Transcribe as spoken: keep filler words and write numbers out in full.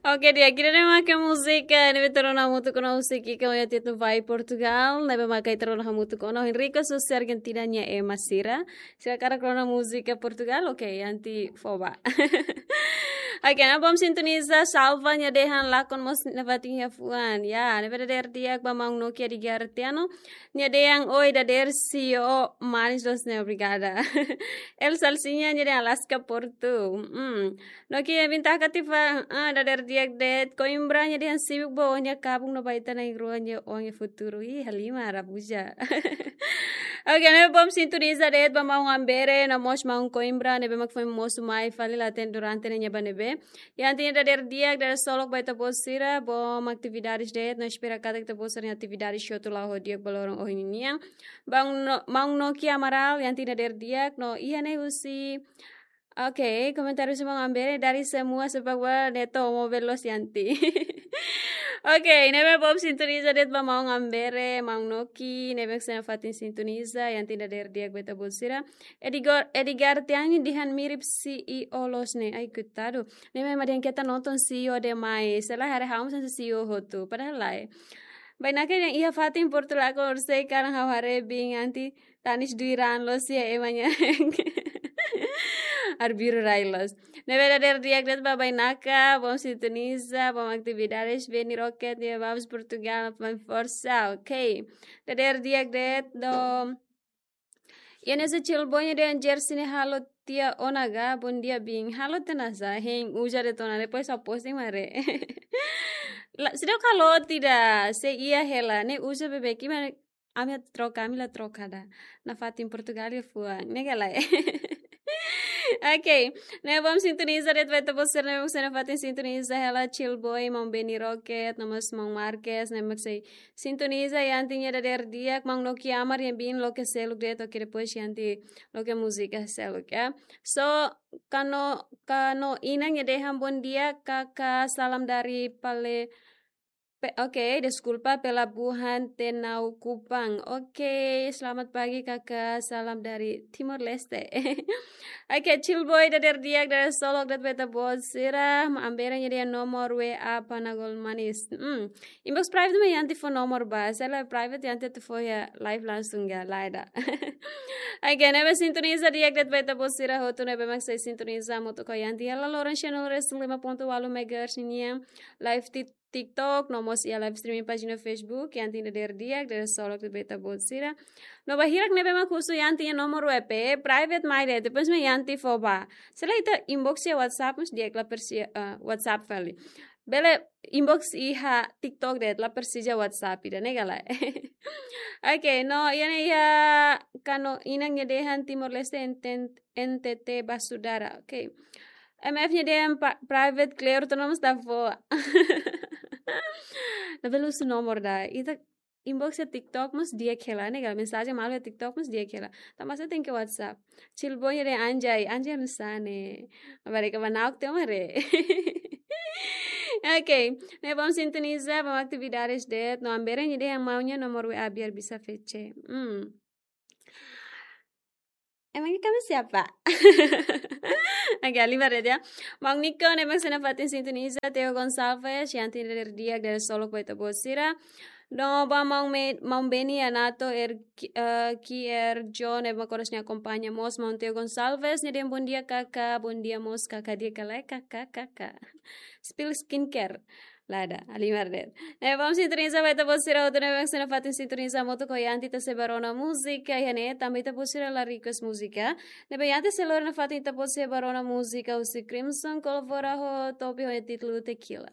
Oke, di'ak, ida-ne'e mak múzika ne'ebé ita rona hamutuk ona husi Kika nia títulu Vai Portugal, ne'ebé mak ita rona hamutuk ona ho Henrico Susi Argentina nia ema sira. Sira hakarak rona múzika Portugal, oke, iha ne'e fó ba. Oke, ne'e bom sintoniza, Salva nia dehan lakon mós nafatin iha fuan. Ya, ne'ebé dadeer di'ak ba maun Noki Edgar Tiano. Nia dehan oi dadeer C E O manis dos ne'e, obrigada. El Salsinha nia dehan Alaska Portu. Hmm. Noki nia bin taka tiha fali, ah, dadeer di'ak de'it. Coimbra nia dehan sibuk ba ó-nia kabun no ba ita na'in-rua nia oan iha futuru. Ih, halimar, abuja. Oke, ne'e bom sintoniza de'it ba maun Ambere, no mós maun Coimbra, ne'ebé mak foin mosu mai fali la hatene durante ne'e nia ba ne'ebé. Iha ne'e nia dadeer di'ak, dadeer solok ba ita-boot sira, bom atividades de'it, no espera katak ita-boot sira-nia atividades hotu la'o ho di'ak ba loron ohin nian. Maun No-, maun Noki Amaral, iha ne'e nia dadeer di'ak, no iha ne'e husi, oke, komentáriu husi maun Ambere, dari semua sepak bola Neto mobil los iha ne'e. Oke, ne'ebé bom sintoniza de'it ba maun Ambere, maun Noki, ne'ebé mak sei nafatin sintoniza, iha ne'e nia dadeer di'ak ba ita-boot sira. Edgar, Edgar Tiano dehan mirip C E O loos ne'e. Ai, koitadu. Ne'e mak dehan keta nonton C E O demais. Selae haree ha'u mós hanesan C E O hotu. Padahal lae. Bainaka dehan iha fatin Portu lakon, orsida kalan ha'u haree biin anti tanis duiran loos iha ema nia. Arbiru rai loos. Ne'ebé dadeer di'ak de'it ba Bainaka, bom sintoniza, bom atividades, Beni Rocket, nia vamos Portugal, vamos forsa, oke. Dadeer di'ak de'it, no iha ne'e husi Chill Boy nia dehan jersey ne'e halo tiha ona ga, bom dia biin. Halo tiha nusá, hein uza de'it ona, depois ha'u posting mak haree. La, seidauk halo tiha, sei iha hela, ne'e uza beibeik, maibé ami troka, ami la troka ida. Nafatin Portugal iha fuan, ne'e ka lae. Oke, ne'e bom sintoniza de'it ba ita-boot sira ne'ebé mak sei nafatin sintoniza hela, Chill Boy, maun Beni Rocket, no mós maun Marques, ne'ebé mak sei sintoniza, iha ne'e nia dadeer di'ak, maun Noki Amar nia bin loke seluk de'it, oke, depois iha ne'e loke múzika seluk, ya. So, Kano, Kano Inang nia dehan bom dia, Kaka, salam dari Pale, pe-, oke, deskulpa, Pelabuhan Tenau Kupang. Oke, selamat pagi, Kaka, salam dari Timor Leste. Oke, Chill Boy dadeer di'ak, dadeer solok de'it ba ita-boot sira, maun Ambere nia dehan nomor W A Panagol Manis. Hmm. Inbox private mak iha ne'e fó nomor ba, selae private iha ne'e atu fó iha live langsung ga, lae ida. Oke, ne'ebé sintoniza di'ak de'it ba ita-boot sira hotu ne'ebé mak sei sintoniza hamutuk ho iha ne'e hela loron shanul resin lima ponto walu megahertz nian, live di TikTok, no mós iha live streaming pájina Facebook, iha ne'e nia dadeer di'ak, dadeer solok de'it ba ita-boot sira. No ba hirak ne'ebé mak husu iha ne'e nia nomor W P, private mai de'it, depois mak iha ne'e fó ba. Selae ita inbox iha WhatsApp, mós di'ak, la presiza, eh, WhatsApp fali. Bele inbox iha TikTok de'it, la presiza WhatsApp ida, ne'e ka lae. Oke, no, iha ne'e iha Kano Inang nia dehan Timor Leste enten-, N T T Basudara. Oke. M F nia dehan pa-, private, kleur, tu nomor sta fó. Labele husu nomor ida. Ita inbox iha TikTok mós di'ak hela, ne'e ka lae, mensajen malu iha TikTok mós di'ak hela. Tanba sá tenke WhatsApp. Chill Boy nia dehan anjay, anjay nusá ne'e. Barek ba nauk te mare. Oke, ne'e bom sintoniza, bom atividades de'it, no Ambere nia dehan maun nia nomor W A biar bisa fece. Hmm. Emangnya kamu siapa? Oke, halimar de'it ya. Maun Nico, ne'ebé mak sei nafatin sintoniza, Theo Gonçalves, iha ne'e nia dadeer di'ak, dadeer solok ba ita-boot sira. No ba maun Me-, maun Beni Anato, er, ki-, eh, Kier John, ne'ebé mak oras ne'e akompaña mós, maun Theo Gonçalves, nia dehan bom dia, Kaka, bom dia mós, Kaka, di'ak ka lae, Kaka, Kaka. Spill Skincare. Lae ida, halimar de'it. Ne'e bom sintoniza ba ita-boot sira hotu ne'ebé mak sei nafatin sintoniza hamutuk ho iha ne'e, ita sei bá rona múzika, iha ne'e tanba ita-boot sira la request múzika. Ne'ebé iha ne'e sei lori nafatin ita-boot sira bá rona múzika husi Crimson, Colvora ho Topi ho títulu Tequila.